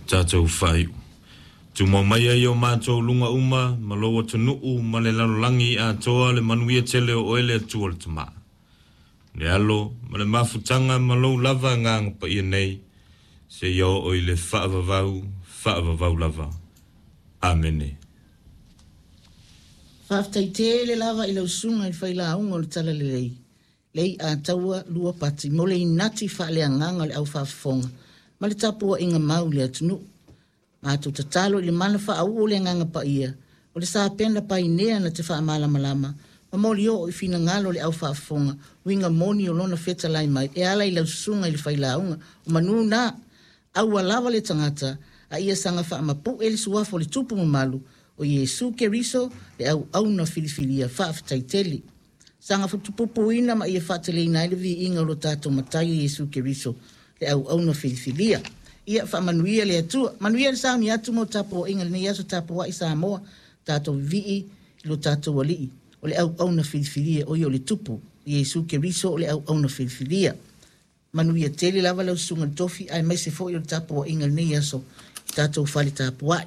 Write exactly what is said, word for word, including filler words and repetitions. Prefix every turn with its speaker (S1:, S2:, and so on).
S1: Tatou faaiu. Tumau mai ai o matou luga uma ma lou atunuu ma le lalolagi atoa le manuia tele o oe le Atua le Tama, le Alo ma le Mafutaga ma lou lava Agaga Paia nei, seia oo i le faavavau, faavavau lava. Amene.
S2: Faafetai tele lava i lau susuga i le failauga o le Talalelei, lei ataua lua pati mo le inati faaleagaga o le au faafofoga ma le tapuaiga mau i le atunuu. Matou tatalo i le mana faauu o le Agaga Paia, o le sapena painea na te faamalamalama ma molioo i finagalo o le au faafofoga uiga moni o lona fetalai mai e ala i lau susuga i le failauga. O manu na, aua lava le tagata a ia saga faamapue le suafa o le tupu mamalu o Iesu Keriso le auauna filifilia. Faafetai tele. Saga futupupuina ma ia faateleina ai le viiga o lo tatou Matai Iesu Keriso le auauna filifilia. Ia faamanuia le Atua. Manuia le sauni atu mo tapuaiga lenei aso, tapuai Samoa, tatou vivii i lo tatou Alii o le auauna filifilia, o ia o le tupu Iesu Keriso o le auauna filifilia. Manuia tele lava lau susuga i le tofi aemaise foi o le tapuaiga lenei aso i tatou fale tapuai.